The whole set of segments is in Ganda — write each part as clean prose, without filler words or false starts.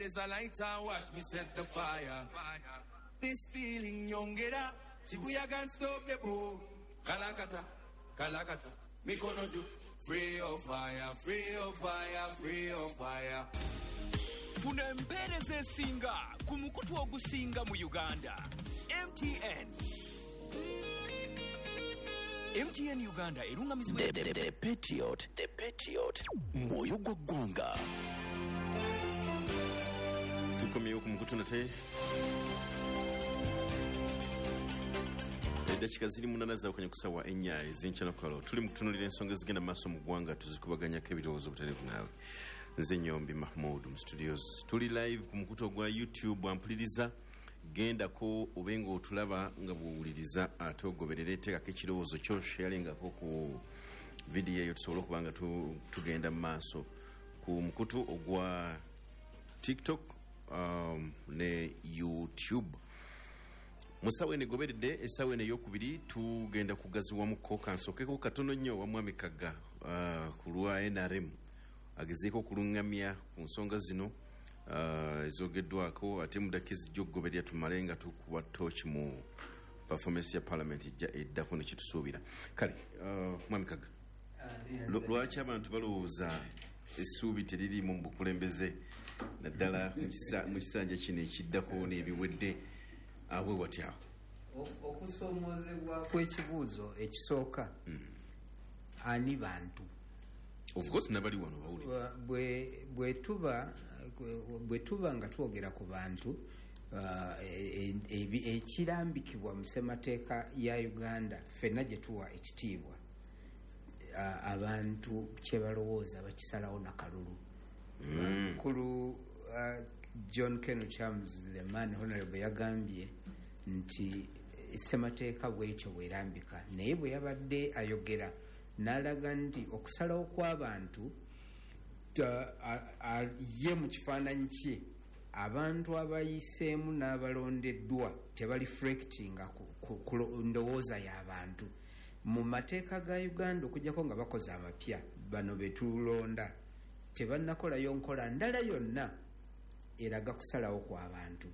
Blaze a light and watch me set the fire. This feeling nyongera, Shibuya can't stop the boat. Kalakata, kalakata, mikono juu. Free your fire, free your fire, free your fire. Funa empeereza esinga ku mukutu ogusinga mu Uganda. MTN. MTN Uganda erungamizibwa The Patriot, The Patriot, mwoyo gwa ggwanga. Tukomyewo ku mukutu nate. Eddakiika ziri 8 zaawukanye ku ssaawa 4 ez'enkyanakalo. Tuli mu kutunuulira ensonga ezigenda mu maaso mu ggwanga, tuzikubaganyako ebirowoozo butereevu naawe. Nze Nyombi Mahmood mu studios. Tuli live ku mukutu ogwa YouTube, ampuliriza gendako obe ng'otulaba nga bw'owuliriza, ate ogoberere, teekako ekirowoozo kyo, sharingako ku vidiyo eyo tusobole okuba nga tugenda mu maaso ku mukutu ogwa TikTok ne YouTube. Mu ssaawa eno egoberedde, essaawa eno ey'okubiri, tugenda kugaziwamuko. Kansookeko katono nnyo wa Mwami Kagga ku lwa NRM agezeeko okuluŋŋamya ku nsonga zino ezogeddwako, ate mu ddakiika ezijja okugoberera tumale nga tukuba tooki mu performance ya parliament ejja eddako ne kitusuubira. Kale Mwami Kagga, lwaki abantu balowooza essuubi teririimu mu bukulembeze, naddala mu kisanja kino ekiddako n'ebiwedde abwe watyawo? Okusomoozebwa kw'ekibuuzo ekisooka, ani bantu? Of course nabali wano bawulira. Bwe tuba nga twogera ku bantu, ekirambikibwa mu ssemateeka ya Uganda ffenna gye tuwa ekitiibwa, abantu kye balowooza bakisalawo nakalulu. Mukulu John Ken Chams, the man honorable, yagambye nti ssemateeka bwekyo bwerambika, naye bwe yabadde ayogera n'alaga nti okusalawo kw'abantu ye mu kifaananyi kye abantu abayiseemu n'abalondeddwa tebareflectinga ku ndowooza y'abantu. Mu mateeka ga Uganda, okuggyako nga bakoze amapya, bano be tulonda tebannakolayo nkola ndala yonna eraga kusalawo kw'abantu.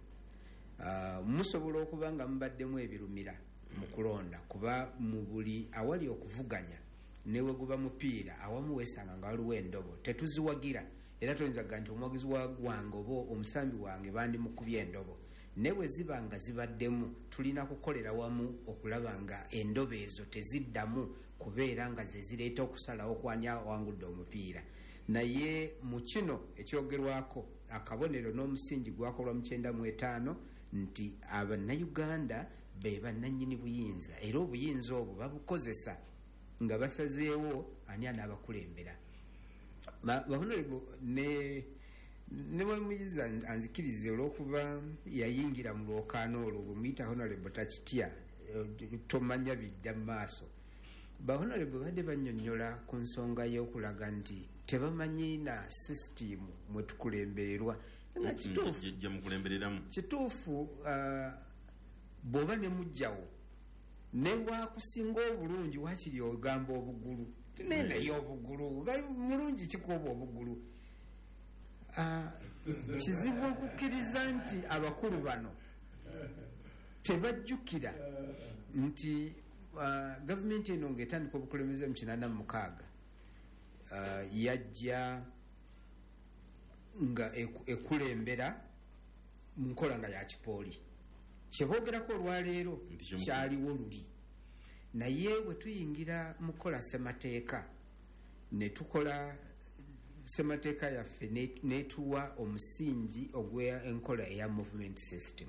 Musobola okuba nga mubaddemu ebirumira mu kulonda, kuba mu buli awali okuvuganya ne we guba mupiira awamu weesanga nga waliwo endobo, tetuziwagira, era toyinza kuga nti omuwagizi wange oba omusambi wange bandimukubye endobo. Ne bwe ziba nga zibaddemu, tulina kukolera wamu okulaba nga endobo ezo teziddamu kubeera nga ze zireeta okusalawo kwani awangudde omupiira. Naye mu kino ekyogerwako, akabonero n'omusingi gwakolwa mu 95 nti Abannayuganda be bannannyini buyinza, era obuyinza obwo babukozesa nga basazeewo ani anaabakulembera. Honorable ne mwemuyiza anzikirize, olw'okuba yayingira mu lwokaano olwo, bwe muyita honorable takitya, tomanya bidda mu maaso. Ba honorable badde bannyonnyola ku nsonga y'okulaga nti tebamanyi na sisitimu mwe tukulembererwa, nga kituufu. Gye mukulembereramu. Kituufu, bw'oba ne mujjawo ne wakusinga obulungi, wakiri ogamba obugulu, naye naye obugulu mulungi kikuoba obugulu. Kizibu okukkiriza nti abakulu bano tebajjukira nti gavumenti eno ng'etandika obukulembeze mu 86, yajja nga ekulembera mu nkola nga ya kipooli. Kyeboogerako olwaleero kyaliwo luli, naye bwe tuyingira mu kukola ssemateeka ne tukola ssemateeka yaffe netuwa omusingi ogw'enkola eya movement system.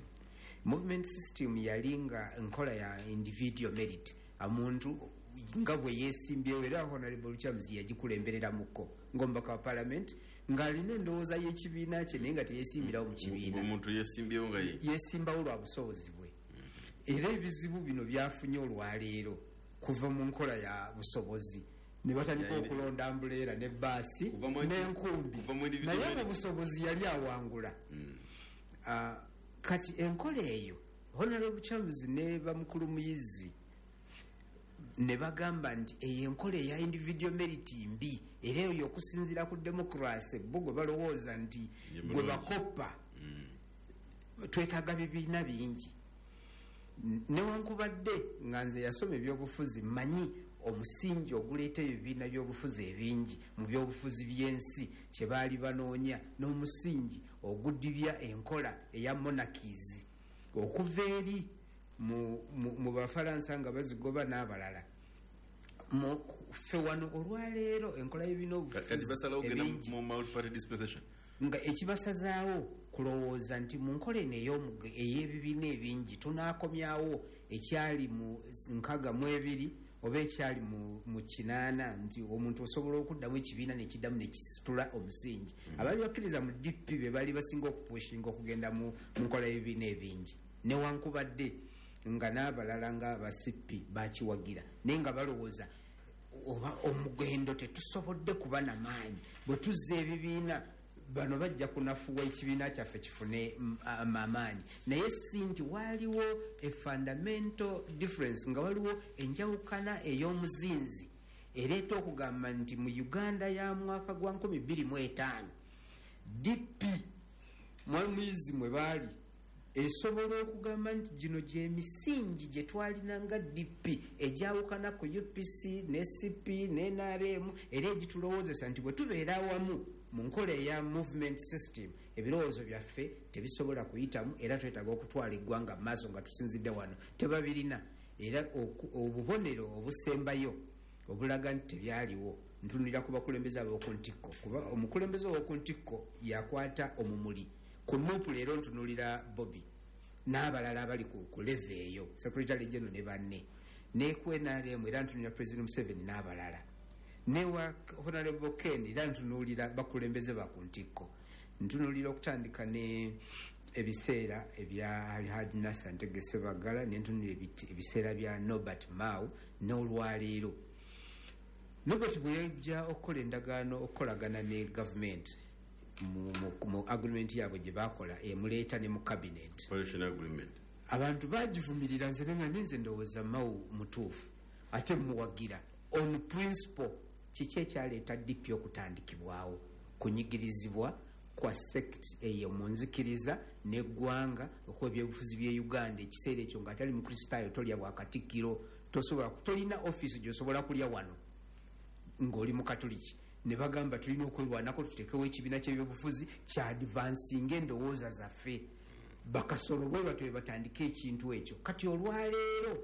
Movement system yali nga enkola ya individual merit, omuntu nga bwe yeesimbyewo, era Honorable Lukyamuzi yagikulembereramuko ng'omubaka wa parliament ng'alina endowooza y'ekibiina kye, naye nga teyeesimbirawo mu kibiina. Omuntu yesimbyewo nga ye yeesimbawo lwa busobozi bwe. Era ebizibu bino byafunye olwaleero kuva mu nkola ya busobozi, ne batandika okulonda ambuleera ne baasi n'enkumbi, naye mu busobozi yali awangula. Kati enkola eyo Honorable Charles ne bamukulu Muyizi Ne bagamba nti eyo enkola eya individual merit mbi, era eyo okusinziira ku democracy bo gwe balowooza nti Ye gwe mulungi. bakoppa, twetaaga bibiina bingi. Newankubadde nga nze yasoma ebyobufuzi, mmanyi omusingi oguleeta ebibiina byobufuzi ebingi mu byobufuzi by'ensi kye baali banoonya, n'omusingi ogudibya enkola eya monarchies okuva eri mu Bafalansa nga bazigoba n'abalala. Ffe wano olwaleero enkola y'ebibiina Kati obufuzi basalawo okugenda ebingi mu multi-party dispensation. Nga ekibasazaawo kulowooza nti mu nkola eno ey'ebibiina ebingi tunaakomyawo ekyali mu 62 oba ekyali mu 80, nti omuntu osobola okuddamu ekibiina nekiddamu nekisitula omusingi. Abaali bakkiriza mu DP be baali basinga okupushinga okugenda mu nkola y'ebibiina ebingi, newankubadde nga n'abalala nga aba CP bakiwagira, naye nga balowooza oba omugendo tetusobodde kuba namaanyi, bwe tuzza ebibiina bano bajja kunafuwa ekibiina kyaffe kifune amaanyi. Naye si nti waaliwo a fundamental difference, nga waliwo enjawukana ey'omuzinzi ereeta okugamba nti mu Uganda ya mwaka gwa 2005 DP mwamuyizi mwe baali esobola okugamba nti gino gyemisingi gye twalina nga DP egyawukana ku UPC ne CP ne NRM, era egitulowoozesa nti bwe tubeera awamu mu nkola eya movement system ebirowoozo byaffe tebisobola kuyitamu, era twetaaga okutwala eggwanga mu maaso nga tusinzidde wano. Tebabirina. Era obubonero obusembayo obulaga nti tebyaliwo, ntunulira ku bakulembeze ab'oku ntikko, kuba omukulembeze ow'oku ntikko yakwata omumuli ku NUP. Leero ntunulira Bobi n'abalala abali ku level eyo, secretary general ne banne, ne ku NRM era ntunulira President Museveni n'abalala, newa Honorable Ken era ntunuulira bakulembeze ba ku ntikko. Ntunuulira okutandika ne ebiseera ebya Alhaji Nasser Ntege Sebagala, nentunulira ebiseera bya Norbert Mao n'olwaleero. Norbert bwe yajja okukola endagaano okukolagana ne gavumenti mu agreement yaabwe gye bakola emuleeta ne mu cabinet, Coalition agreement. abantu bagivumirira. Nze nenga ninze ndowooza Mao mutuufu ate muwagira on principle. Kiki ekyaleeta DP okutandikibwawo? Kunyigirizibwa kwa sect eyo mu nzikiriza neggwanga okuba ebyobufuzi bye Uganda ekiseera ekyo nga atali mukristaayo tolya bwakatikkiro, tosobola, tolina offisi gyosobola kulya wano ng'oli mukatuliki. Ne bagamba tulina okwerwanako tutekewo ekibiina kyebyobufuzi kya advancinga endowooza zaffe. Bakasolo bwe batyo batandika ekintu ekyo. Kati olwaleero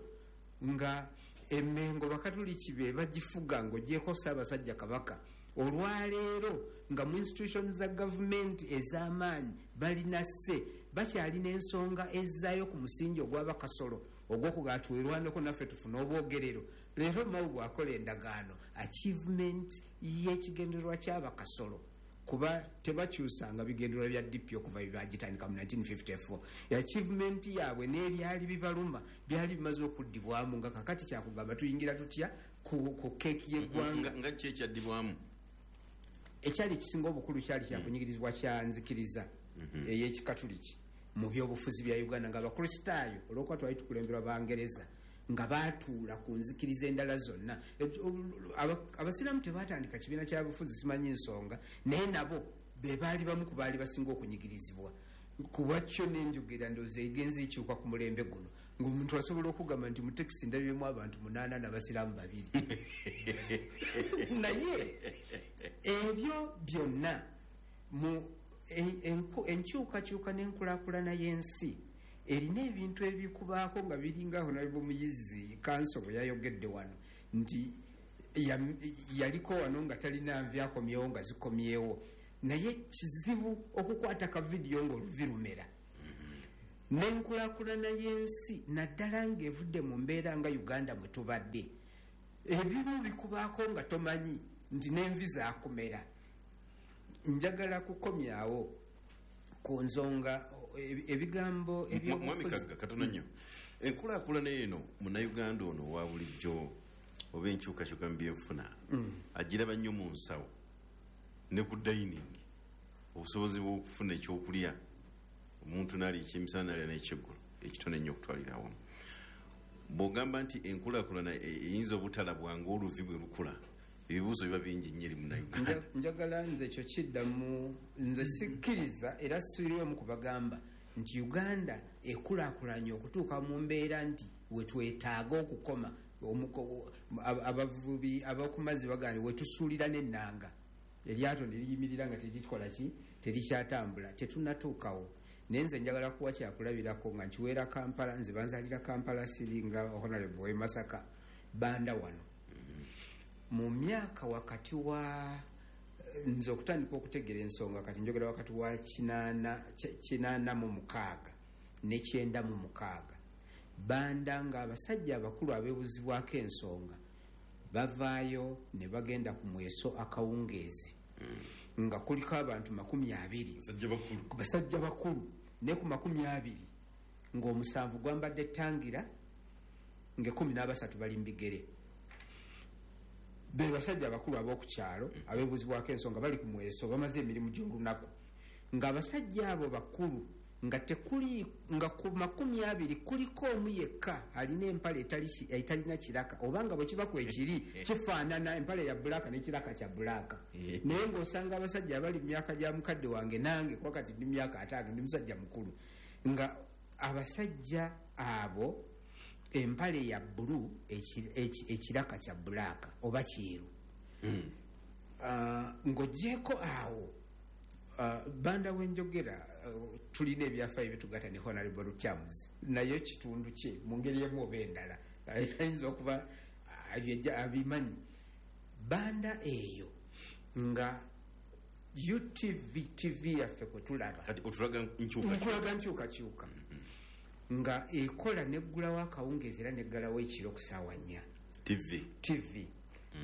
nga Emmengo bakatuliki be bagifuga ng'ogyeko Ssaabasajja Kabaka, olwaleero nga mu institution za gavumenti ez'amaanyi balina sse bakyalina ensonga ezzaayo ku musingi ogw'abakasolo ogw'okugaa twerwaneko naffe tufune obwogerero. Leero Mao bw'akola endagaano, achievement y'ekigendererwa ky'abakasolo, kuba tebakyusanga bigendererwa bya DP okuva byebagitandika mu 1954, achievement yaabwe n'ebyali bibaluma byali bimaze okuddibwamu, nga kakati kyakugamba tuyingira tutya ku keeki y'eggwanga. Nga ki ekyaddibwamu? Ekyali ekisinga obukulu kyali kyakunyigirizibwa kya nzikiriza ey'ekikatuliki mu byobufuzi bya Uganda, nga abakristaayo olwokuba twali tukulemberwa Bangereza nga batuula ku nzikiriza endala zonna. Abasiraamu tebatandika kibiina kya bufuzi, simanyi nsonga, naye nabo be baali bamu ku baali basinga okunyigirizibwa. Kuba kyo nenjogera ndowooza egenza ekyuka ku mulembe guno, ng'omuntu asobola okugamba nti mu tekisi ndabyemu abantu 8 n'abasiraamu 2. Naye ebyo byonna mu enkyukakyuka n'enkulaakulana y'ensi erina ebintu ebikubaako nga biringa Honorable Muyizi kanso bwe yayogedde wano nti yaliko wano nga talina nvi akomyewo nga zikomyewo, naye kizibu okukwata ka vidiyo ng'oluvi lumera. N'enkulaakulana y'ensi naddala ng'evudde mu mbeera nga Uganda mwe tubadde, ebimu bikubaako nga tomanyi nti n'envi zaakumera. Njagala kukomyawo ku nsonga ebigambo Mwami ebyobufuzi. Kagga, katono nnyo. Enkulaakulana eno munnayuganda ono owa bulijjo oba enkyukakyuka mu byenfuna agiraba nnyo mu nsawo ne ku dining, obusobozi bw'okufuna ekyokulya omuntu n'alya ekyemisana n'alya n'ekyeggulo ekitono ennyo okutwalira awamu. Bw'ogamba nti enkulaakulana eyinza obutalabwa ng'oluvi bwe lukula, ebibuuzo biba bingi nnyo eri Munnayuganda. Njagala nze ekyo kiddamu, nze sikkiriza era siri omu kubagamba nti Uganda ekulaakulanye okutuuka mu mbeera nti wetwetaaga okukoma. Abavubi abakumazzi bagamba wetusuulira n'ennanga, eryato ne liyimirira nga terikola ki, terikyatambula, tetunnatuukawo. Naye nze njagala kuwa kyakulabirako nga nkiweera Kampala. Nze banzaalira Kampala, siri nga honorable w'e Masaka. Banda wano mu myaka wakati wa nze okutandika okutegeera ensonga, kati njogera wakati wa 86 ne 96, Banda nga abasajja abakulu abeebuzibwako ensonga bavaayo ne bagenda ku mweso akawungeezi nga kuliko abantu 20. Basajja bakulu. Ku basajja bakulu, ne ku 20 ng'omusanvu gwambadde tangira, nga 13 bali mu bigere. Be basajja abakulu ab'oku kyalo abeebuzibwako ensonga bali ku mweso, bamaze emirimu gy'olunaku, ng'abasajja abo bakulu nga tekuli nga ku 20 kuliko omu yekka alina empale etalina kiraka, obanga bwe kiba kwekiri kifaanana empale ya black n'ekiraka kya black. Naye ng'osanga abasajja abali mu myaka gya mukadde wange nange, kuba kati ndi myaka 50, ndi musajja mukulu, nga abasajja abo empale ya bbulu, ekiraka kya black oba kyeru. Ng'ogyeko awo, Banda wenjogera, tulina ebyafaayo byetugatta ne Honorable Lukyamuzi, naye kitundu kye mu ngeri emu oba endala ayinza okuba abimanyi. Banda eyo nga UTV, TV yaffe kwe tulaba. Kati otulaga nkyukakyuka. Nkulaga nkyukakyuka nga ekola neggulawo akawungeezi era neggalawo ekiro ku ssaawa 4. TV. TV.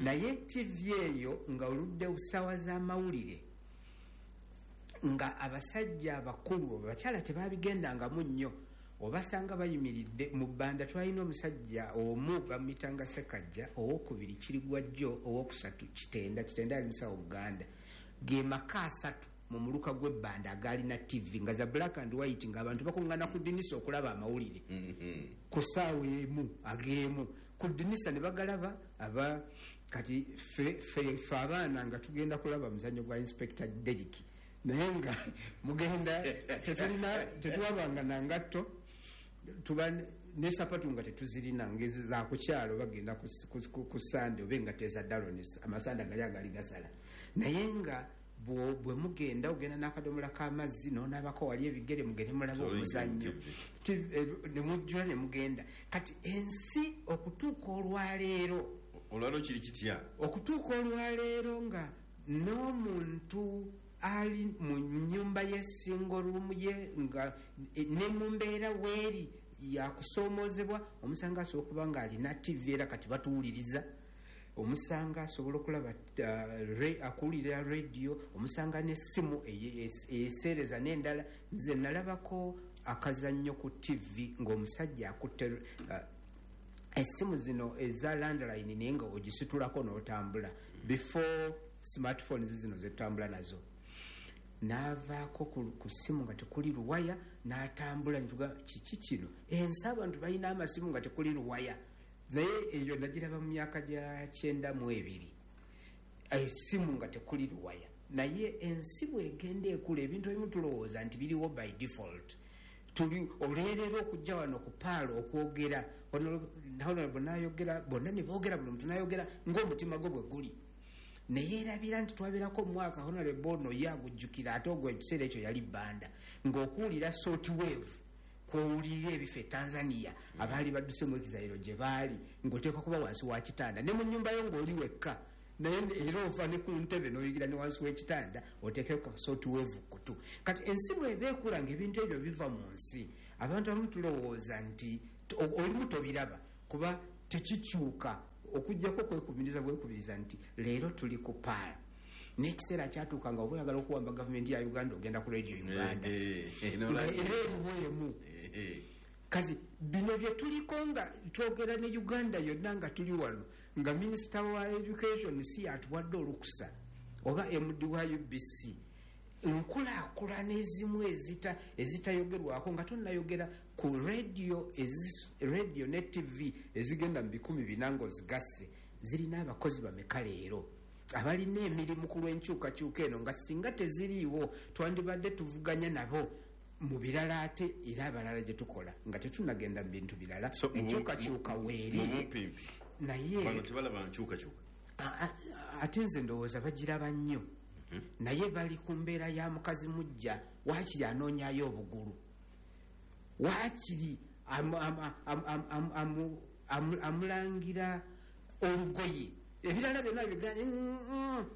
Naye TV eyo nga oludde ssaawa z'amawulire nga abasajja abakulu, abakyala tebabigendangamu nnyo, obasanga bayimiridde mu bbanda. Twalina omusajja omu bamuyitanga Sekajja, owokubiri Kirigwajjo, owokusatu Kitenda. Kitenda ali musawo Buganda. Ge maka asatu mu muluka gw'ebbanda agalina TV nga za black and white, ng'abantu bakuŋŋaana ku ddinisa okulaba amawulire ku ssaawa emu ag'emu ku ddinisa ne bagalaba. Aba kati fe abaana nga tugenda kulaba muzannyo gwa Inspector Derrick, naye nga mugenda tetulina, tetulabanga na ngatto, tuba ne sapatu nga tetuzirina, ngezi za ku kyalo, bagenda ku Sande oba engatto eza dalon, amasanda gali agali gasala. Naye nga bwe mugenda, ogenda n'akadomola k'amazzi n'onaabako wali ebigere, mugende mulabe Sorry, omuzannyo. TV. Ne mujjula ne mugenda. Kati ensi okutuuka olwaleero, Olwaleero kiri kitya? Okutuuka olwaleero nga n'omuntu ali mu nyumba ye, single room ye, nga ne mu mbeera weeri yakusoomoozebwa, omusanga asobola okuba nga alina TV, era kati batuwuliriza, omusanga asobola okulaba, akuwulira radio, omusanga n'essimu eseereza n'endala. Nze nalabako akazannyo ku TV ng'omusajja akutte essimu zino eza landline, naye nga ogisitulako n'otambula, before smartphones zino zetutambula nazo, n'avaako ku ssimu nga tekuli luwaya n'atambula. Nituga kiki kino? Ensi abantu balina amasimu nga tekuli luwaya. Naye eyo nagiraba mu myaka gya 92, essimu nga tekuli luwaya. Naye ensi bwegenda ekula, ebintu ebimu tulowooza nti biriwo by default. Tuli olwerera okujja wano ku paalo okwogera, honorable nayogera, bonna ne boogera, buli muntu nayogera ng'omutima gwe bwe guli, naye erabira nti twabeerako omwaka, honorable ono ye agujjukira, ate ogwo ekiseera ekyo yali Bbanda, ng'okuwulira short wave kwowulirira ebifo e Tanzania abaali badduse mu exile gye baali, ng'oteekwa kuba wansi wa kitanda ne mu nnyumba yo ng'oli wekka, naye era ova ne ku ntebe n'oyigira ne wansi w'ekitanda oteekeko short wave kutu. Kati ensi bw'eba ekula ng'ebintu ebyo biva mu nsi, abantu abamu tulowooza nti olimu tobiraba kuba tekikyuka, okuggyako kwekubiriza bwekubiriza nti leero tuli ku paala. N'ekiseera kyatuuka nga oba oyagala okuwamba gavumenti ya Uganda, ogenda ku Radio Uganda, nga era eriwo emu. Kati bino bye tuliko nga twogera ne Uganda yonna nga tuli wano, nga minisita wa education si atuwadde olukusa oba MD wa UBC. Nkulaakulana ezimu ezitayogerwako nga tonnayogera ku radio, radio ne TV ezigenda mu 400 ng'ozigasse, zirina abakozi bameka leero abalina emirimu ku lw'enkyukakyuka eno, nga singa teziriiwo twandibadde tuvuganya nabo mu birala, ate era abalala gye tukola nga tetunagenda mu bintu birala. So, Enkyukakyuka weeri. Mu bumpimpi, Naye bano tebalaba nkyukakyuka. Ate nze ndowooza bagiraba nnyo, naye bali ku mbeera ya mukazi mujja, waakiri anoonyayo obugulu, waakiri amulangira olugoye, ebirala byonna biganye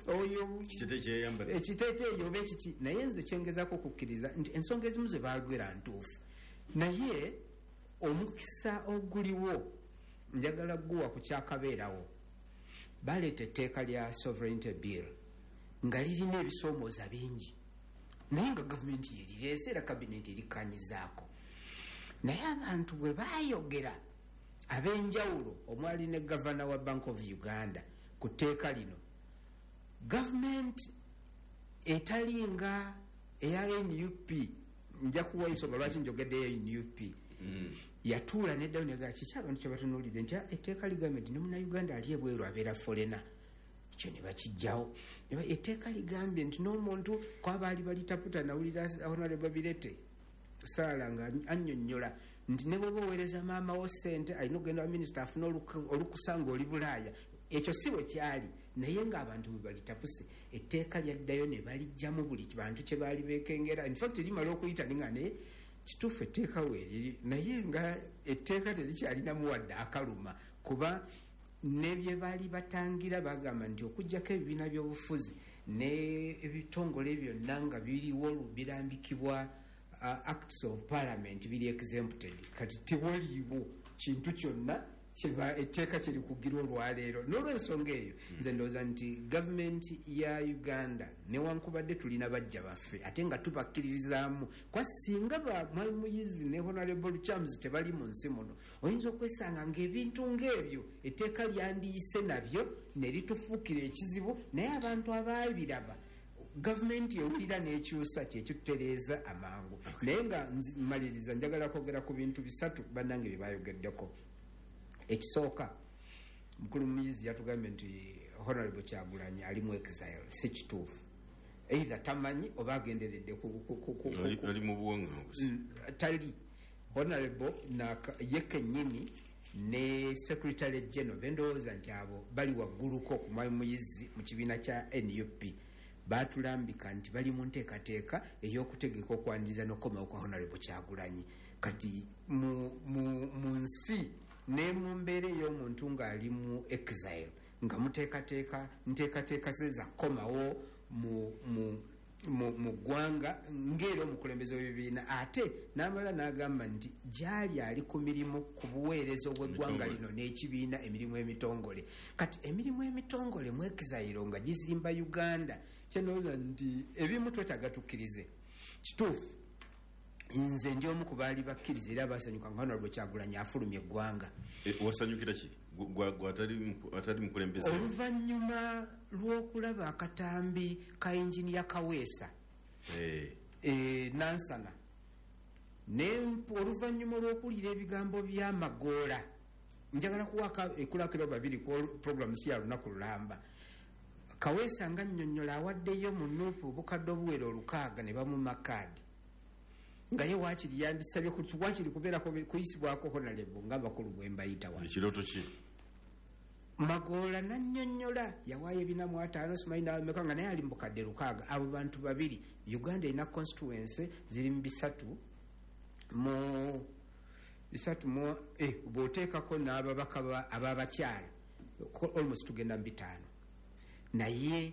oyo. Kiteteeyi kyeyayambadde. Ekiteeteeyi oba ekiki. Naye nze kyengezaako okukkiriza nti ensonga ezimu ze baagera ntuufu, naye omukisa oguliwo njagala guwa ku kyakabeerawo. Baleeta etteeka lya sovereignty bill nga lirina ebisoomooza bingi, naye nga gavumenti yerireese era kabineti erikkanyizaako. Naye abantu bwe baayogera ab'enjawulo, omwali ne gavana wa Bank of Uganda, ku tteeka lino, gavumenti etalinga eya NUP, nja kuwa ensonga lwaki njogeddeyo NUP, yatuula neddayo negala kiki abantu kyebatunuulidde nti, "Ah, etteeka ligambye nti ne Munnayuganda ali ebweru abeera foreigner." Ekyo ne bakijjawo. Etteeka ligambye nti n'omuntu kwabaali balitaputa. Nawulira Honorable Birete Saala nga annyonnyola nti ne bwoba oweereza maama wo sente, alina okugenda wa minisita afune olukusa ng'oli Bulaaya. Ekyo si bwe kyali, naye ng'abantu bwe balitapuse, etteeka lyaddayo ne balijjamu buli bantu kye baali beekengera. Infact limala okuyita ninga naye kituufu etteeka weeriri, naye nga etteeka terikyalinamu wadde akaluma, kuba ne bye baali batangira bagamba nti okugjako ebibiina by'obufuzi ne ebitongole byonna nga biriwo birambikibwa acts of parliament biri exempted. Kati tewaliiwo kintu kyonna kyeba etteeka kyerikugira olwaleero. N'olwensonga eyo nze ndowooza nti gavumenti ya Uganda, newankubadde tulina bajja baffe ate nga tubakkiririzaamu, kwa singa ba Mwami Muyizi ne Honorable Chams tebali mu nsi muno, oyinza okwesanga ng'ebintu ng'ebyo etteeka lyandiyise nabyo ne litufuukira ekizibu. Naye abantu abaabiraba, gavumenti ewulira n'ekyusa kyekitutereeza amangu. Naye nga maliriza, njagala kwogera ku bintu bisatu bannange bye bayogeddeko. Ekisooka, mukulu Muyizi yatugambye nti Honorable Kyagulanyi ali mu exile. Si kituufu. Either tamanyi oba agenderedde Ali mu buwaŋŋangusi. Tali. Honorable ye kennyini ne secretary general, bendowooza nti abo bali wagguluko ku Mwami Muyizi mu kibiina kya NUP, batulambika nti bali mu nteekateeka ey'okutegeka okwaniriza n'okukomawo kwa Honorable Kyagulanyi. Kati mu nsi ne mu mbeera ey'omuntu ng'ali mu exile, nga muteekateeka nteekateeka ze zakukomawo mu ggwanga ng'era omukulembeze w'ebibiina, ate n'amala n'agamba nti gyali ali ku mirimu ku buweereza obw'eggwanga Emitongole. lino n'ekibiina, emirimu emitongole. Kati emirimu emitongole mu exile nga gizimba Uganda, kyenowooza nti ebimu twetaaga tukkirize kituufu. Nze ndi omu ku baali bakkiriza era basanyuka nga Honorable Kyagulanyi afulumya eggwanga. Wasanyukira ki? Atali mukulembeze? Oluvannyuma lw'okulaba akatambi ka Injiniya Kaweesa Nansana, oluvannyuma lw'okuwulira ebigambo by'Amagoola, njagala kuwaaka ekulakiro babiri ku program si ya lunaku lulamba. Kaweesa nga nnyonnyola awaddeyo mu NUP obukadde obuwera 600 ne bamuma kaadi, nga ye waakiri yandisabye waakiri kubeerako kuyisibwako honorable ng'abakulu bwe mbayita wano. Ekirooto ki? Magoola nannyonnyola yawaayo 405, simanyi nawameka, nga naye ali mu bukadde 600. Abo bantu babiri, Uganda erina constituency ziri mu bisatu mu bw'oteekako n'ababaka ab'abakyala, almost tugenda mu 5. Naye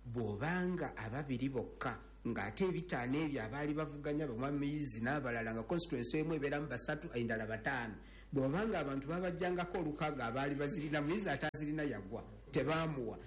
bw'obanga ababiri bokka, ng'ate 5 ebyo abaali bavuganya bamwamiyizi n'abalala, nga constituency emu ebeeramu basatu, endala 5, bw'obanga abantu babajjangako 600 abaali bazirina, Muyizi ate azirina yagwa tebaamuwa.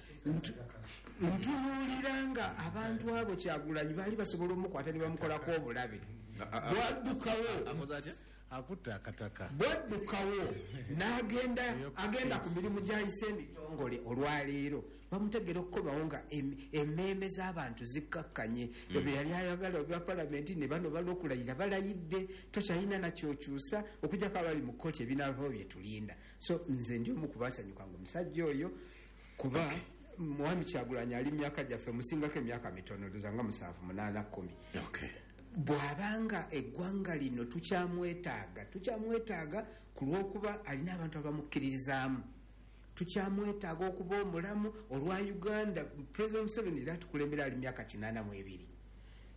Ntunuulira nga abantu abo Kyagulanyi baali basobola omukwata ne bamukolako obulabe bwaddukawo. Akoze atya? Akutte akataka. Bwaddukawo n'agenda agenda ku mirimu gyayise emitongole. Olwaleero bamutegera okukomawo nga emmeeme z'abantu zikkakkanye. Ebyo yali ayagala obya palamenti ne bano balwokulayira balayidde, tokyalina nakyokyusa okujjako abali mu kkooti ebinaavawo bye tulinda. So nze ndi omu kubasanyuka nga omusajja oyo, kuba Mwami Kyagulanyi ali myaka gyaffe, musingako emyaka mitono, tuzanga 7, 8, 10. Bw'abanga eggwanga lino tukyamwetaaga, tukyamwetaaga ku lw'okuba alina abantu abamukkiririzaamu, tukyamwetaaga okuba omulamu olwa Uganda. President Museveni era atukulembera ali myaka 82,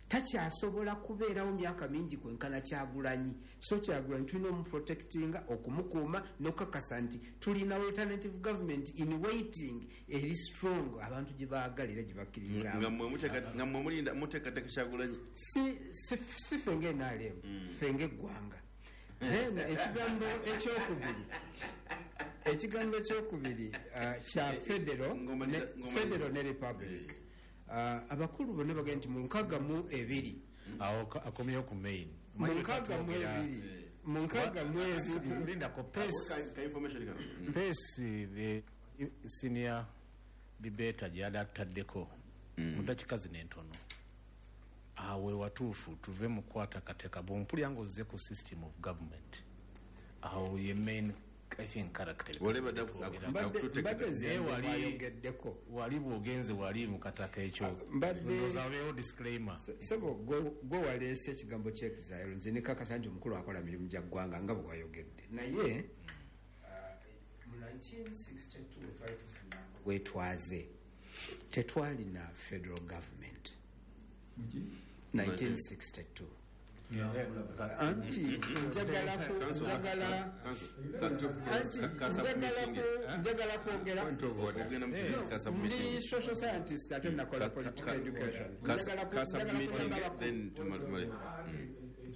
takyasobola kubeerawo myaka mingi kwenkana Kyagulanyi. So Kyagulanyi tulina omuprotectinga, okumukuuma n'okukakasa nti tulina alternative government in waiting eri strong, abantu gye baagala era gye bakkirizaamu. Nga mmwe mulinda muteekateeka Kyagulanyi. Si ffe nga NRM, ffe ng'eggwanga. Then ekigambo ekyokubiri kya federal federal ne republic. Abakulu bonna bagenda nti mu 62 Awo akomyewo ku main. Mu 62. Lindako pace. Ka information kano. Pace, the senior debater gyeyali atutaddeko mu dakiika zino entono, awe watuufu tuve mu kukwata kateeka. Bwompulya nga ozze ku system of government, awo ye main, I think, character. Wale badde Mbadde nze Naye wayogeddeko. Wali bw'ogenze wali mu kataka ekyo, ndowooza wabeewo disclaimer. Sebo, gwe waleese ekigambo ky'exile, nze nekakasa nti omukulu akola mirimu gya ggwanga nga bwe wayogedde. Naye mu 1962 we twali tufuna bwetwaze, tetwalina federal government 1962. Anti njagala anti njagala kwogera. Ogenda mu ka Ndi submitting. social scientist ate nakola political education. Ka Njagala submitting kusaba abakulu. Then tumale.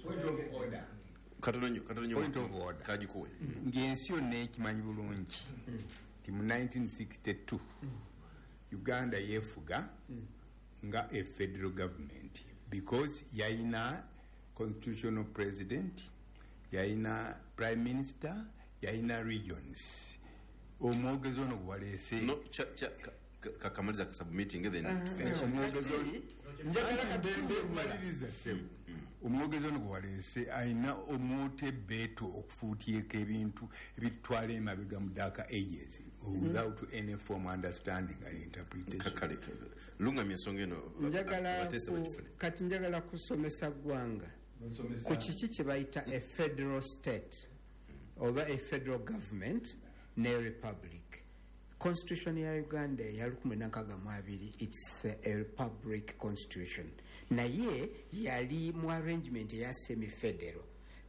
Point of order. Katono nnyo, katono nnyo. Point of order. Kagikuwe. Ng'ensi yonna ekimanyi bulungi nti mu 1962 Uganda yeefuga nga a federal government, because yayina constitutional president, yayina prime minister, yayina regions. Omwogezi ono gwewaleese No, kakamaliza ka submitting then finish. Omwogezi ono Njagala kati maliriza ssebo. Omwogezi ono gwewaleese ayina omwota ebbeetu okufuutyeko ebintu ebitutwala emabega mu dark ages without any form understanding and interpretation. Kale, lungamya ensonga eno. Njagala abateesa bagifune. Kati njagala kusomesa ggwanga ku kiki kye bayita a federal state oba a federal government ne republic. Constitution ya Uganda eya 1962, it's a republic constitution, naye yali mu arrangement eya semi federal.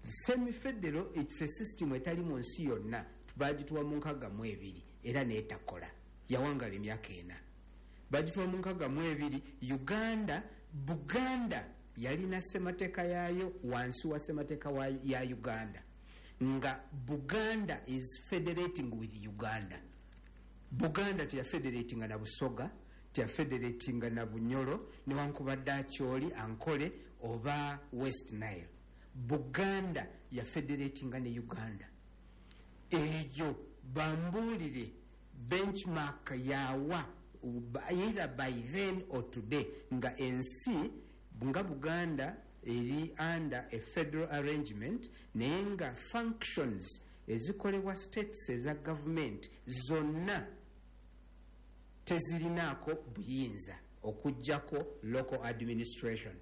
Semi federal, it's a system etali mu nsi yonna. Bagituwa mu 62 era neetakola, yawangala emyaka 4. Bagituwa mu 62. Uganda, Buganda yalina ssemateeka yaayo wansi wa ssemateeka ya Uganda, nga Buganda is federating with Uganda. Buganda teyafederatinga na Busoga, teyafederatinga na Bunyoro, newankubadde Akyoli, Ankole oba West Nile. Buganda yafederatinga ne Uganda. Eyo bambuulire benchmark yawa, either by then or today, nga ensi nga Buganda eri under a federal arrangement, naye nga functions ezikolebwa states eza government zonna tezirinaako buyinza okugjako local administration.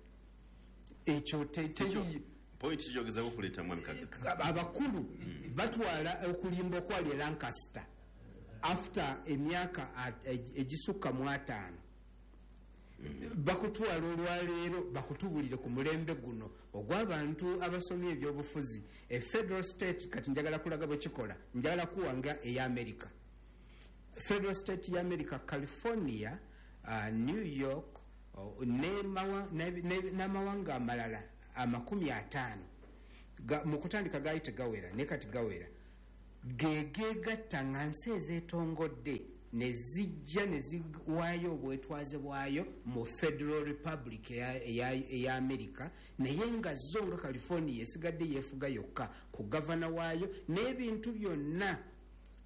Ekyo teri. Point kyogezako okuleeta, mwami Kaga. Abakulu batwala okulimba okwali e Lancaster after emyaka egisukka mu 50, bakutwala olwaleero bakutubulire ku mulembe guno ogw'abantu abasomye ebyobufuzi e federal state. Kati njagala kulaga bwe kikola. Njagala kuwa nga eya America, federal state ya America: California, New York, n'amawanga amalala 50. Mu kutandika gaali tegawera, naye kati gawera. Gegegatta nga nsi ezeetongodde. Ne zijja ne ziwaayo obwetwaze bwayo mu Federal Republic eya America, naye nga zo nga California esigadde yeefuga yokka ku gavana waayo n'ebintu byonna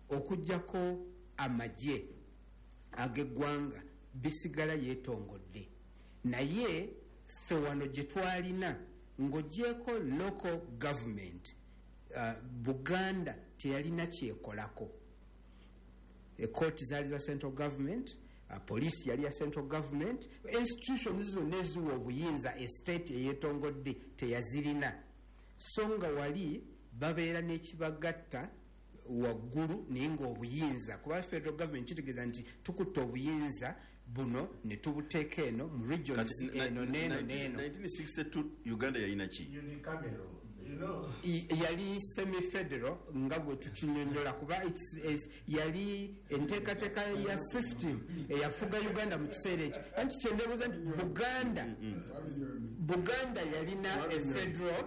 okugjako amagye ag'eggwanga bisigala yeetongodde. Naye ffe wano gye twalina, ng'ogyeko local government, Buganda teyalina kyekolako. Ekooti zaali za central government, poliisi yali ya central government, institutions zonna eziwa obuyinza estate eyeetongodde teyazirina. So nga wali babeera n'ekibagatta waggulu, naye ngaobuyinza, kuba federal government kitegeeza nti tukutta obuyinza buno ne tubuteeka eno mu regions eno neno neno. 1962 Uganda yalina ki? Yali semi federal nga bwe tukinyonyola, kuba yali enteekateeka ya system eyafuga Uganda mu kiseera ekyo. Anti kyendebuuza nti Buganda yalina e federal.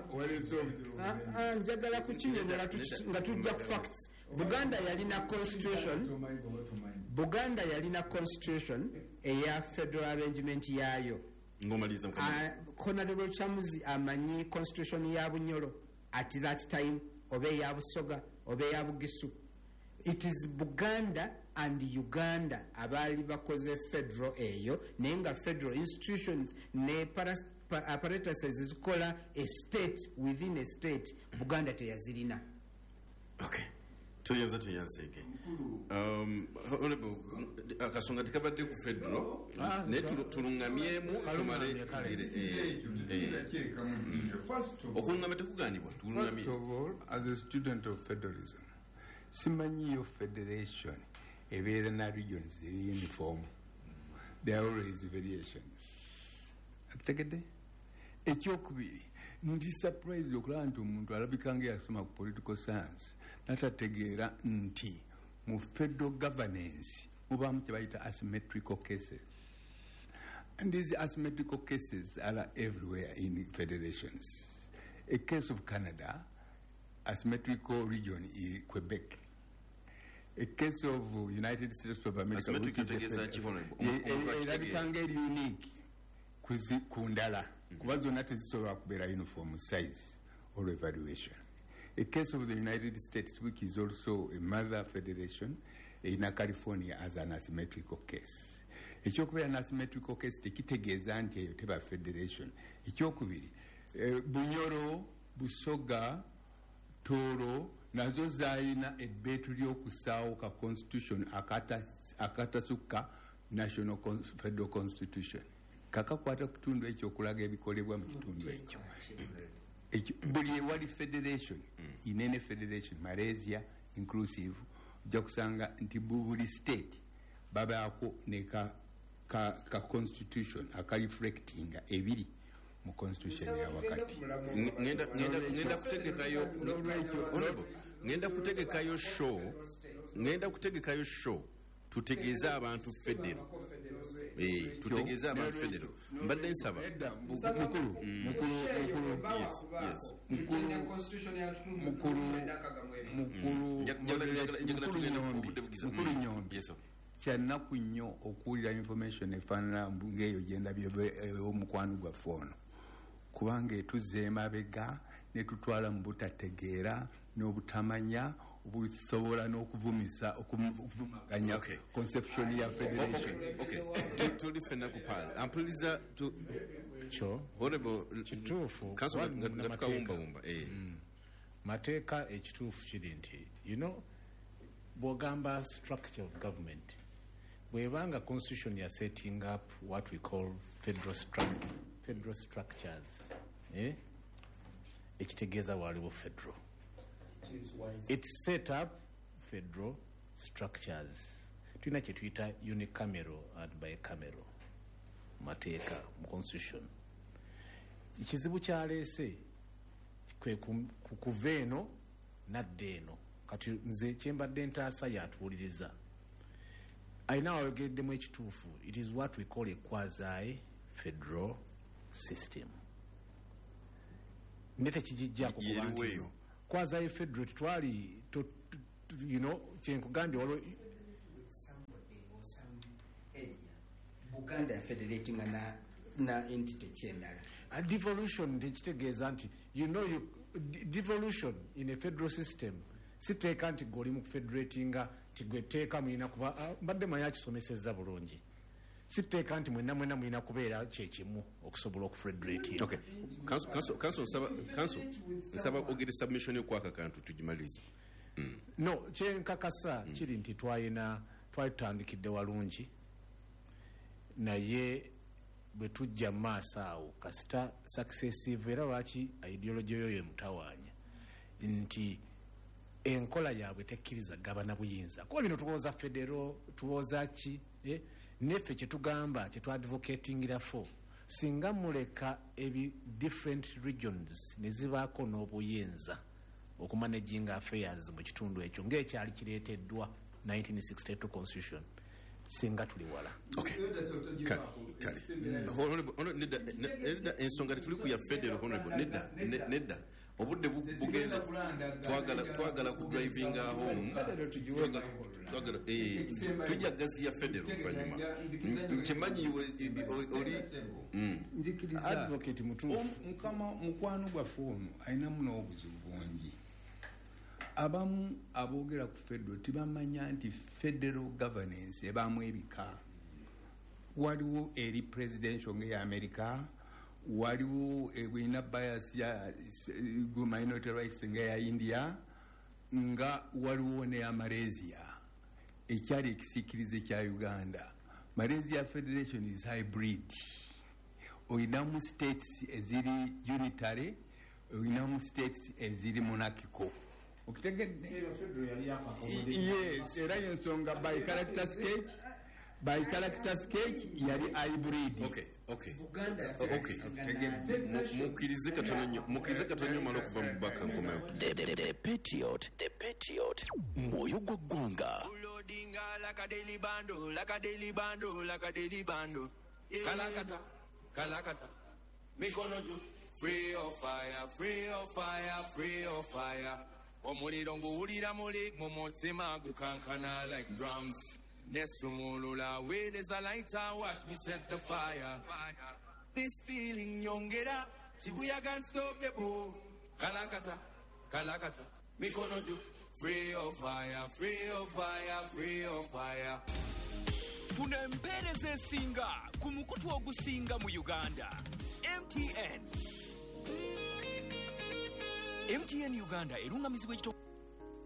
Njagala kukinyonyola nga tujja ku facts. Buganda yalina constitution, Buganda yalina constitution eya federal arrangement yaayo. Ngomaliza. Honorable Chamuzi amanyi constitution ya Bunyoro at that time, oba eya Busoga oba eya Bugisu. It is Buganda and Uganda abaali bakoze federal eyo, naye nga federal institutions ne apparatuses zikola a state within a state Buganda teyazirina. Okay, tuyanza tuyanzege. Honorable, akasonga tekabadde ku federal, naye tulungamyemu tumale tugire. Okulungamya tekuganibwa, tulungamye. First of all, as a student of federalism, simanyiyo federation ebeera na regions eri uniform. There are always variations. Akutegedde? Ekyokubiri, ndi surprised okulaba nti omuntu alabika nga yasoma ku political science natategeera nti mu federal governance mubaamu kye bayita asymmetrical cases, and these asymmetrical cases are everywhere in federations. A case of Canada, asymmetrical region is Quebec. A case of United States of America, Asymmetrical which is a tegeeza ki, Honorable? Omuntu akitegeera. Erabika nga eri unique ku ndala, kuba zonna tezisobola kubeera uniform size or evaluation. A case of the United States, which is also a mother federation, erina California as an asymmetrical case. Ekyokubeera an asymmetrical case tekitegeeza nti eyo teba federation. Ekyokubiri, Bunyoro, Busoga, Tooro nazo zayina ebbeetu ly'okusaawo ka constitution akatasukka national federal constitution, kakakwata ku kitundu ekyo okulaga ebikolebwa mu kitundu ekyo. Buli ewali federation, inene federation, Malaysia inclusive, ojja kusanga nti buli state babaako ne ka constitution akareflectinga ebiri mu constitution ya wakati. Ngenda kutegekayo, Honorable, ngenda kutegekayo show tutegeeze abantu federal, tutegeeze abantu federal. Mbadde nsaba. Nedda, mukulu, mukulu, mukulu, Yes. Mukulu, mukulu, Njagala mukulu tugende Nyombi, obudde bugiza. mukulu Nyombi. Yes, sir. Kyanaku nnyo okuwulira information efaanana ngaeyo gyendabye omukwano gwaffe ono, kubanga etuzza emabega netutwala mu butategeera n'obutamanya obusobola n'okuvumisa, okuvumaganya conception ya federation. Okay. Tuli ffenna ku pal ampuliriza Kyo Honorable kituufu. Council Kuba nga munnamateeka. tukawumbawumba. Mateeka, ekituufu kiri nti bw'ogamba structure of government, bw'ebanga constitution ya setting up what we call federal structures, eh? Ekitegeeza waliwo federal, it set up federal structures. Tulina kye tuyita unicameral and bicameral mateeka mu constitution. Ekizibu kyaleese kwe kuva eno nadda eno. Kati nze kyembadde ntaasa yatuwuliriza alina wayogeddemu ekituufu. It is what we call a quasi federal system, ne tekigijjako kuba nti Yeriwo eyo. Quasi federal tetwali kyenkugambye waliwo. Buganda ya federatinga na entity kyendala. A devolution tekitegeeza nti devolution in a federal system siteeka nti gwe oli mu kufederatinga nti gwe tteeka mulina kuba, mbadde manyi akisomesezza bulungi, siteeka nti mwenna mwenna mulina kubeera kyekimu okusobola okufederatinga. Okay. Council nsaba ogere submission yokwaka kantu tugimalirize. No, kyenkakasa kiri nti twali tutandikidde walungi, naye bwe tujja mu maaso awo kasita successive, era lwaki ideology yo yemutawaanya nti enkola yaabwe tekkiriza gabana buyinza, kuba bino tulowooza federo, tulowooza ki, neffe kyetugamba kyetwadvocatingira for, singa muleka ebi different regions ne zibaako n'obuyinza okumanaginga affairs mu kitundu ekyo ng'ekyali kireeteddwa 1962 constitution, singa tuli wala. Okay. Kale. Honorable, nedda ensonga tetuli ku ya federal, honorable, nedda. Obudde bugenze, twagala ku drivinga home. Twagala tujja gazi ya federal oluvannyuma. Nkimanyi oli nzikiriza advocate mutuufu. Mukama mukwano gwaffe ono alinamu n'obuzibu bungi. Abamu aboogera ku federal tebamanya nti federal governance ebaamu ebika. Waliwo eri presidential ng'eya America, waliwo erina bias ya minority rights ng'eya India, nga waliwo n'eya Malaysia ekyali ekisiikirize kya Uganda. Malaysia Federation is hybrid. Olinamu states eziri unitary, olinamu states eziri monarchical. Okitegedde? Yes, era yensonga by character sketch yali hybrid. Okay. Buganda okay. Mukkirize katono nnyo mala okuva mu baka nkomewo. The Patriot, The Patriot, mwoyo gwa ggwanga. Ulodinga like a daily bando, like a daily bando, like a daily bando. Kalakata, kalakata. Mikono juu, free of fire, free of fire, free of fire. Omuliro nguwulira muli mu mutima gukankana like drums. Nesumulula weereza lighter, watch me set the fire. This feeling nyongera, chibuyaga unstoppable. Kalakata, kalakata, mikono juu, free of fire, free of fire, free of fire. Funa empeereza esinga ku mukutu ogusinga mu Uganda. MTN. MTN Uganda erungamizibwa ekito.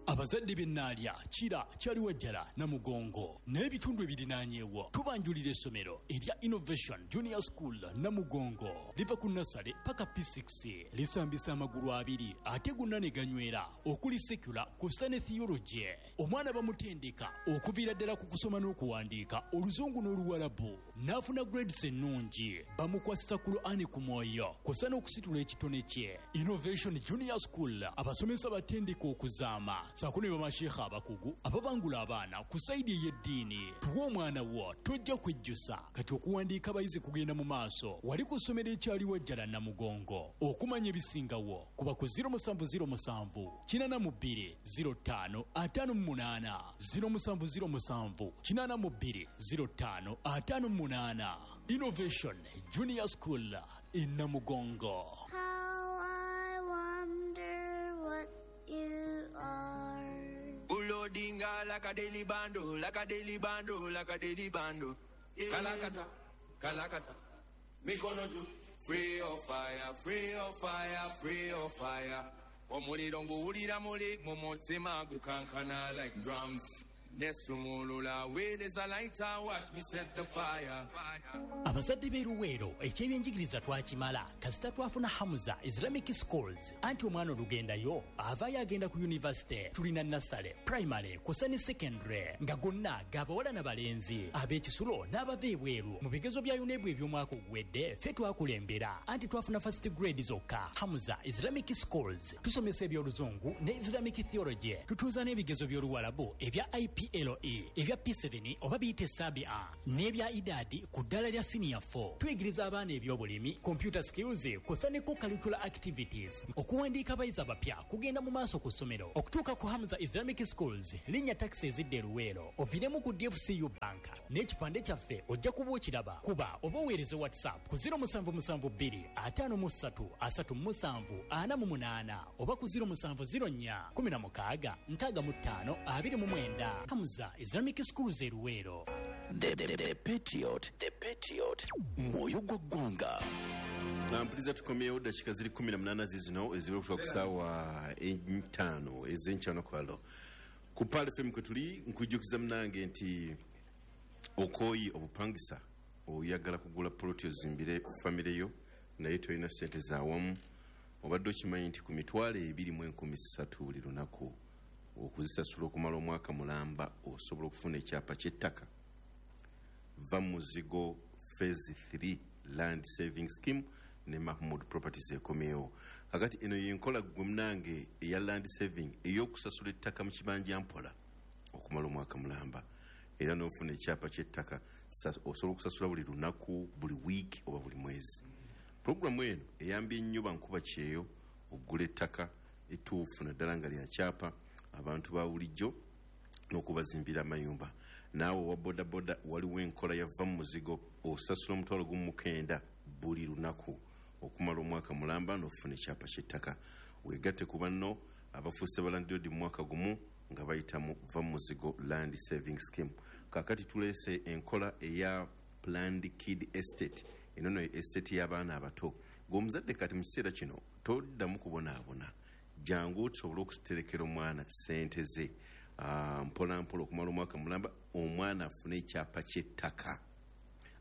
Abazadde b'Ennaalya, Kira, Kyaliwajjala, Namugongo n'ebitundu ebirinaanyeewo tubanjulira essomero erya Innovation Junior School Namugongo. Liva ku nasale paka P6, lisambisa amagulu abiri ate gonna ne ganywera, okuli secular kw'ossa ne theology. Omwana bamutendeka okuviira ddala ku kusoma n'okuwandiika Oluzungu n'Oluwalabu, n'afuna grades ennungi. Bamukwasisa Kur'ani ku mwoyo kw'ossa n'okusitula ekitone kye. Innovation Junior School abasomesa batendeka okuzaama saako ne bamasheikha abakugu ababangula abaana ku sayidi ey'eddiini. Tuwa omwana wo tojja kwejjusa. Kati okuwandiika abayizi kugenda mu maaso wali ku ssomero ekyaliwajjala Namugongo. Okumanya ebisingawo kuba ku 0707 82 05 58 0707 82 05 58. Innovation Junior School in Namugongo. How I wonder what you are. Ulodinga like a daily bando, like a daily bando, like a daily bando. Kalakata, kalakata. Mikono juu, free of fire, free of fire, free of fire. Omuliro nguwulira muli mu mutima gukankana like drums. Nesumulula weereza lighter, watch me set the fire. Abazadde b'e Luweero ekyebyenjigiriza twakimala kasita twafuna Hamza Islamic Schools. Anti omwana olugendayo avaayo agenda ku university. Tulina nasale, primary kw'ossa ne secondary nga gonna g'abawala n'abalenzi, ab'ekisulo n'abava ebweru. Mu bigezo bya UNEB eby'omwaka oguwedde ffe twakulembera, anti twafuna first grade zokka. Hamza Islamic Schools tusomesa eby'Oluzungu ne Islamic theology, tutuuza n'ebigezo by'Oluwalabu ebya IP PLE, ebya P7 oba biyite Sabia n'ebya Idadi ku ddala lya Senior 4. Tuyigiriza abaana ebyobulimi, computer skills kw'ossa ne co-curricular activities. Okuwandiika abayizi abapya kugenda mu maaso ku ssomero okutuuka ku Hamza Islamic Schools, linnya takisi ezidda e Luweero, oviiremu ku DFCU Bank n'ekipande kyaffe ojja kuba okiraba. Kuba oba oweereze WhatsApp ku 0772 53 37 48 oba ku 0704 16 65 29. Hamza Islamic Schools e Luweero. The Patriot, The Patriot, mwoyo gwa ggwanga. Mpuliriza, tukomyewo. Dakika ziri 18 zizino ezibula okutuuka ku saawa 5 ez'enkya ku Pearl FM kwe tuli. Nkujjukiza munange nti okooyi obupangisa, oyagala kugula poloti ozimbire famire yo naye tolina sente zawamu. Obadde okimanyi nti ku 23,300 buli lunaku okuzisasula okumala omwaka mulamba osobola okufuna ekyapa ky'ettaka? Va muzigo phase 3 land saving scheme ne Mahmud Properties ekomyewo kakati. Eno yenkola gwe munange eya land saving, ey'okusasula ettaka mu kibanja mpola okumala omwaka mulamba era n'ofuna ekyapa ky'ettaka. Osobola okusasula buli lunaku, buli wiiki oba buli mwezi. Puroguramu eno eyambye nnyo bankuba kyeyo okugula ettaka ettuufu naddala nga lya kyapa, abantu ba bulijjo n'okubazimbira amayumba. Naawe owa bodaboda, waliwo enkola ya va mu muzigo. Osasula 19,000 buli lunaku okumala omwaka mulamba n'ofuna ekyapa ky'ettaka. Weegatte ku banno abafuuse balandirodi mu mwaka gumu nga bayita mu va mu muzigo land saving scheme. Kaakati tuleese enkola eya Planned Kid Estate. Eno no estate y'abaana abato. Gweomuzadde kati mu kiseera kino toddamu kubonaabona. Jangu tusobole okuterekera omwana sente ze mpola mpola okumala omwaka mulamba, omwana afune ekyapa ky'ettaka.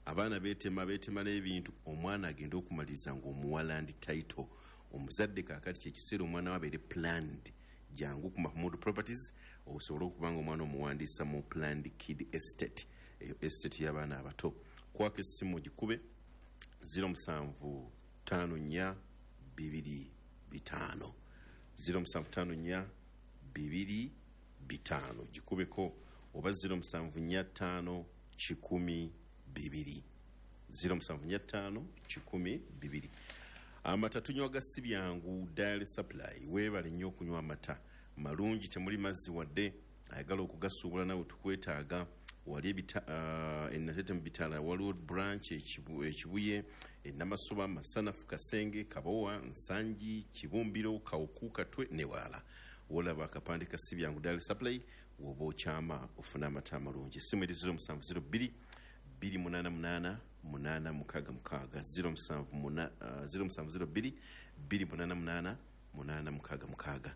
Abaana beetema beetema n'ebintu, omwana agende okumaliriza ng'omuwa land title. Omuzadde kaakati kyekiseera omwana we abeere planned. Jangu ku Mahmud Properties osobole okuba nga omwana omuwandiisa mu Planned Kid Estate, eyo estate y'abaana abato. Kwaka essimu gikube 0754 25 0754 25, gikubeko, oba 0745 100 2 0745 100 2. Amata tunywa ga si byangu Dairy Supply. Weebale nnyo okunywa amata malungi, temuli mazzi wadde. Ayagala okugasuubula nawe tukwetaaga. Wali enatete mu bitala, waliwo branch Ekibuye, Enamasoba, Masanafu, Kasenge, Kabowa, Nsangi, Kibumbiro, Kawuku, Katwe ne walala. Wolaba akapande ka si byangu Dairy Supply woba okyama ofune amata amalungi. Essimu eri 0702 288 866, 0702 288 866.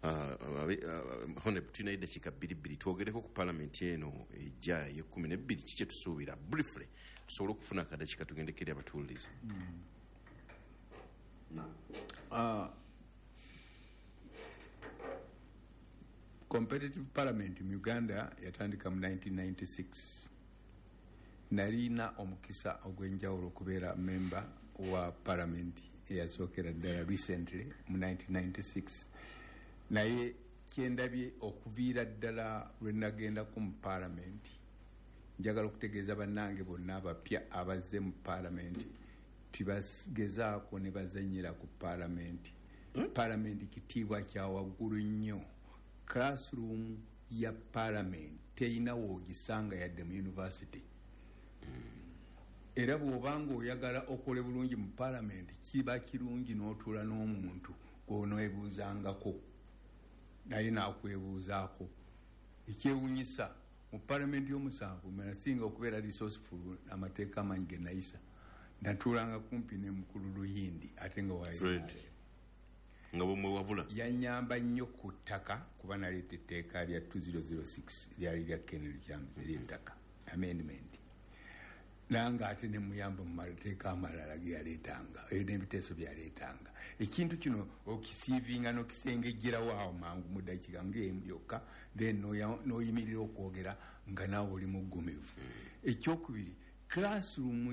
Honorable, tulinayo eddakiika bbiri bbiri, twogereko ku palamenti eno ejja ey'e12. Kiki kyetusuubira? Briefly, tusobole okufuna akadakiika tugendeko eri abatuwuliriza. Competitive parliament mu Uganda yatandika mu 1996. Nalina omukisa ogw'enjawulo okubeera member wa parliament eyasookera ddala recently mu 1996, naye kyendabye okuviira ddala lwe nagendako mu parliament, njagala okutegeeza bannange bonna abapya abazze mu parliament tibagezaako ne bazanyira ku parliament. Parliament kitiibwa kya waggulu nnyo. Classroom ya parliament teyina woogisanga yadde mu university, era bw'obanga oyagala okole bulungi mu parliament, kiba kirungi n'otuula n'omuntu gw'oneebuuzangako naye nakwebuuzaako. Ekyewunyisa, mu palamenti y'omusanvu nasinga okubeera resourceful. Amateeka amanyi ge nayisa, natuulanga kumpi ne mukulu Luyindi ate nga wa Fred. Nga bwemwewabula. Yanyamba nnyo ku ttaka, kuba naleeta etteeka lya 2006, lyali lya Ken Lukyamuzi ery'ettaka amendment, nange ate nemuyamba mu mateeka amalala geyaleetanga n'ebiteeso byaleetanga. Ekintu kino okisiivinga n'okisengejjerawo awo mangu mu ddakiika ngaemu yokka, then n'oyimirira okwogera nga naawe oli muggumivu. Ekyokubiri, classroom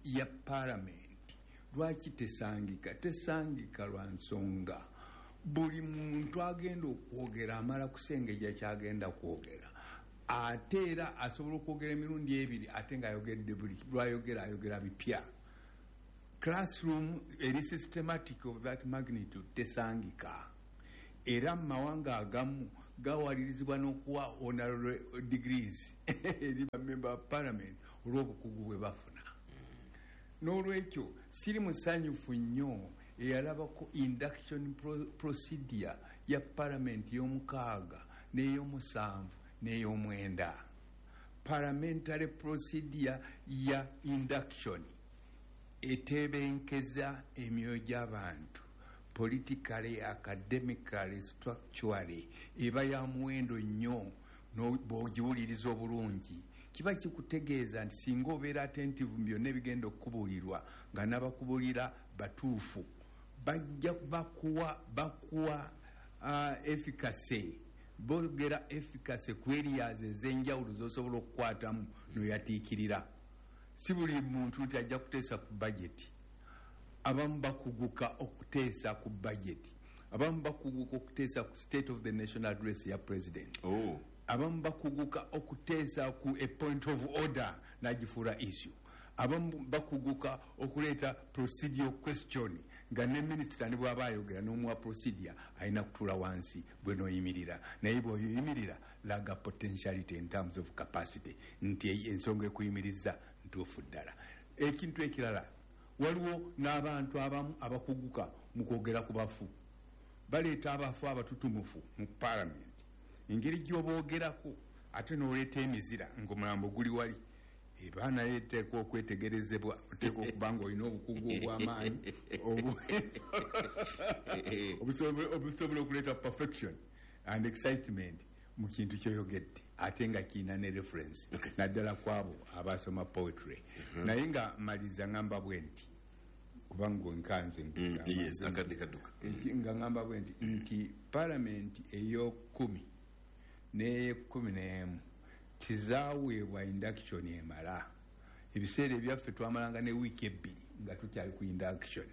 ya parliament lwaki tesangika? Tesangika lwa nsonga buli muntu agenda okwogera amala kusengejja kyagenda kwogera. Ate era asobola okwogera emirundi ebiri, ate ng'ayogedde buli lwayogera ayogera bipya. Classroom eri systematic of that magnitude tesangika. Era mu mawanga agamu gawalirizibwa n'okuwa honorary degrees eri bamemba ba parliament olw'obukugu bwe bafuna. N'olwekyo siri musanyufu nnyo eyalabako induction procedure ya parliament y'omukaaga n'ey'omusanvu n'ey'omwenda. Parliamentary procedure ya induction etebenkeza emyoyo gy'abantu politically, academically, structurally, eba ya muwendo nnyo. Bw'ogiwuliriza obulungi, kiba kikutegeeza nti singa obeera attentive mu byonna ebigenda okukubuulirwa, nga n'abakubuulira batuufu, bajja bakuwa efficacy. Boogera efficacy ku areas ez'enjawulo z'osobola okukwatamu noyatiikirira. Si buli muntu nti ajja kuteesa ku budget. Abamu bakuguka okuteesa ku budget, abamu bakuguka okuteesa ku State of the Nation Address ya president, abamu bakuguka okuteesa ku a point of order nagifuula issue, abamu bakuguka okuleeta procedural question, nga ne minisita ne bwaba ayogera n'omuwa procedure, alina kutuula wansi bwe noyimirira. Naye bw'oyimirira, laga potentiality in terms of capacity nti ensonga ekuyimiriza ntuufu ddala. Ekintu ekirala, waliwo n'abantu abamu abakuguka mu kwogera ku bafu. Baleeta abafu abatutumufu mu parliament, engeri gy'oboogerako ate n'oleeta emizira ng'omulambo guli wali, eba naye eteekwa okwetegerezebwa. Oteekwa okuba nga olina obukugu obw'amaanyi obusobola okuleeta perfection and excitement mu kintu kyoyogedde, ate nga kiina ne reference, naddala ku abo abasoma poetry. Naye nga maliriza, ngamba bwe nti, kubanga nkanze Yes, akadde kadduka. Nga ngamba bwe nti nti palamenti ey'okumi n'eyekumi n'emu tizaaweebwa induction emala. Ebiseera ebyaffe twamalanga ne wiiki 2 nga tukyali ku induction.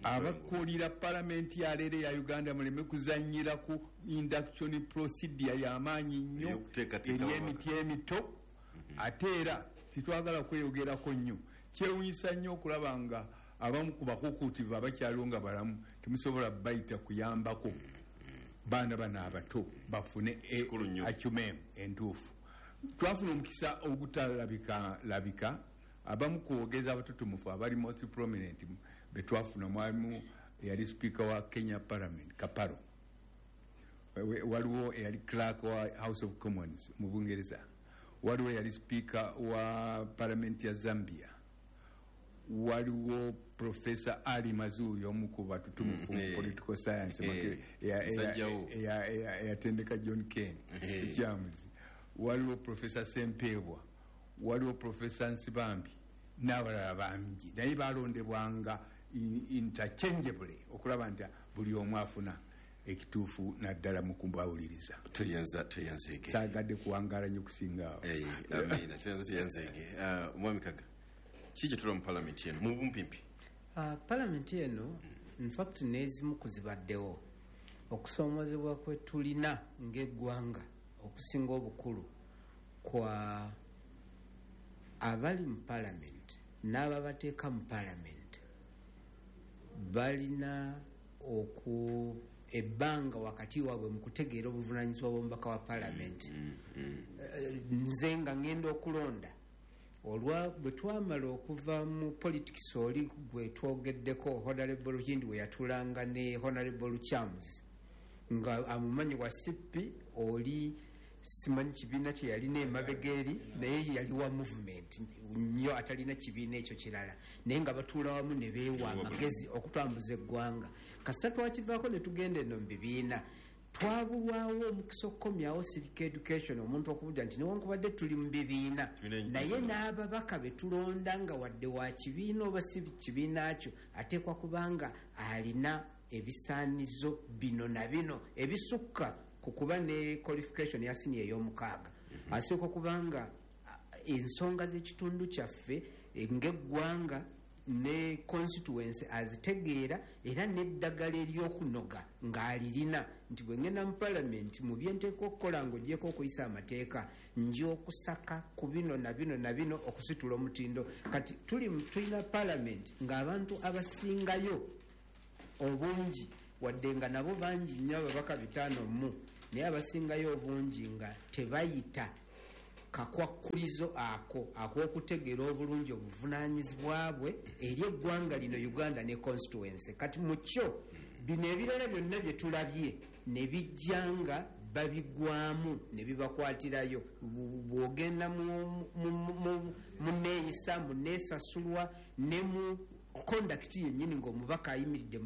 Abakulira palamenti yaleero eya Uganda, muleme kuzanyira ku induction procedure. Y'amaanyi nnyo Ey'okuteekateeka eri emiti emito. Ate era titwagala kweyogerako nnyo. Kyewunyisa nnyo okulaba nga abamu ku bakukuutivu abakyaliwo nga balamu temusobola bayita kuyambako baana bano abato bafune Kikulu nnyo. Acumen entuufu. Twafuna omukisa ogutalabika labika. Abamu kuwogeza abatutumufu abali most prominent betwafuna, mwalimu eyali speaker wa Kenya Parliament, Kaparo. Waliwo eyali clerk wa House of Commons mu Bungereza, waliwo eyali speaker wa parliament ya Zambia, waliwo Professor Ali Mazui, omu ku batutumufu mu political science, Musajjawo. eyatendeka John Ken Lukyamuzi, waliwo Professor Sempebwa, waliwo Professor Nsibambi n'abalala bangi. Naye balondebwanga interchangeably okulaba nti buli omu afuna ekituufu, naddala mu kubawuliriza. Toyanza, toyanzeege. Saagadde kuwangaala nnyo kusinga awo. Eh, amiina. Toyanza, toyanzeege. Ah, omwami Kaga, ki kye tulaba mu palamenti eno mu bumpimpi? Palamenti eno, infact n'ezimu ku zibaddewo, okusoomozebwa kwe tulina ng'eggwanga okusinga obukulu kwa abali mu palamenti n'ababateeka mu palamenti balina oku ebbanga wakati waabwe mu kutegeera obuvunanyizibwa bw'omubaka wa palamenti. Nze nga ngenda okulonda, olwa bwe twamala okuva mu politics oli gwe twogeddeko, Honorable Ruhindi, we yatulanga ne Honorable Chams nga amumanyi wa CP, oli simanyi kibiina kye yalina emabega eri, naye yali wa movement nnyo, atalina kibiina ekyo kirala, naye nga batuula wamu ne beewa amagezi okutambuza eggwanga. Kasita twakivaako ne tugenda eno mu bibiina, twabulwawo omukisa okukomyawo civic education, omuntu okubudda nti newankubadde tuli mu bibiina, naye n'ababaka be tulonda, nga wadde wa kibiina oba si kibiina kyo, ateekwa kubanga alina ebisaanizo bino na bino ebisukka ku kuba ne qualification ya siniya ey'omukaaga. Asooka kubanga ensonga z'ekitundu kyaffe, ng'eggwanga. Ne constituency azitegeera, era n'eddagala ery'okunoga ng'alirina nti bwe ngenda mu palamenti, mu byenteeka okukola ng'ogyeko okuyisa amateeka, nja okusaka ku bino na bino na bino okusitula omutindo. Kati tulina palamenti ng'abantu abasingayo obungi, wadde nga nabo bangi nnyo, ababaka 50 mu, naye abasingayo obungi nga tebayita kakwakkulizo ako ak'okutegeera obulungi obuvunaanyizibwa bwe eri eggwanga lino Uganda ne constituency. Kati mu kyo bino ebirala byonna bye tulabye ne bijja nga babigwamu ne bibakwatirayo. Bw'ogenda mu neeyisa, mu neesasulwa ne mu conduct yennyini ng'omubaka ayimiridde mu